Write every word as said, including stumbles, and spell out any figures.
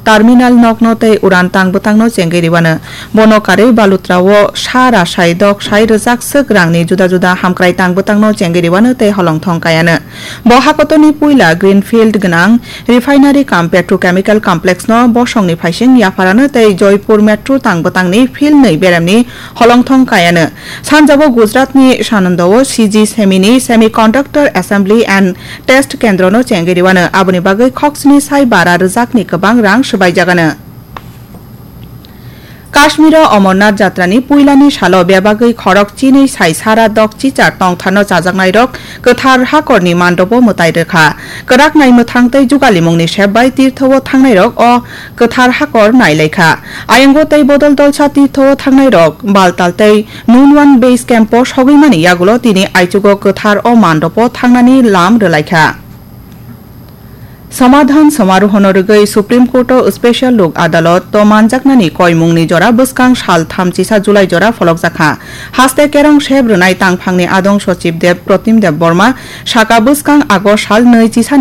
terminal nokno tei uran tang bwtangno chengwi rwano. Bono karwi Balutra o sa rasai dok sai rwjak swk rangni juda juda hamkrai tang bwtangno chengwi rwano tei holongthong kaiano. Bo hakotorni puila Greenfield gwnang Refinery cum Petrochemical Complex no bosongni phaising yapharano tei Joypur Metro tang bwtangni philnwi beremni holongthong kaiano. Sanjabo Gujaratni Sanandao C G Semini Semiconductor Assembly and Test Kendrono chengwi rwano, aboni bagwi khoksni sai bara rwjakni kwbang rang swbaijagano. Kashmiro Amarnath Jatrani puilani salo bebagwi khorok chinwi sai sara dok chichar tongtharno chajaknairok kwthar hakorni mandobo mwtai rwkha. Kwrak naimwthang tei jugalimungni sep bai tirtho-o thangnairok o kwthar hakor nailaikha. Ayango tei bodol dolsa tirtho-o thangnairok Baltal tei Nunwan Base Camp-o sogwimani yagulo tini aichugo kwthar o mandobo thangnani lam rwlaikha. Samadhan samarohono rwgwi Supreme Court-o Special Lok Adalot-o manjaknani koimungni jora bwskang sal tham chisa July jora pholokjakha. Haste kerong sep rwnai tangphangni adong Sochib Deb Protim Deb Borma saka bwskang August sal nwi chisani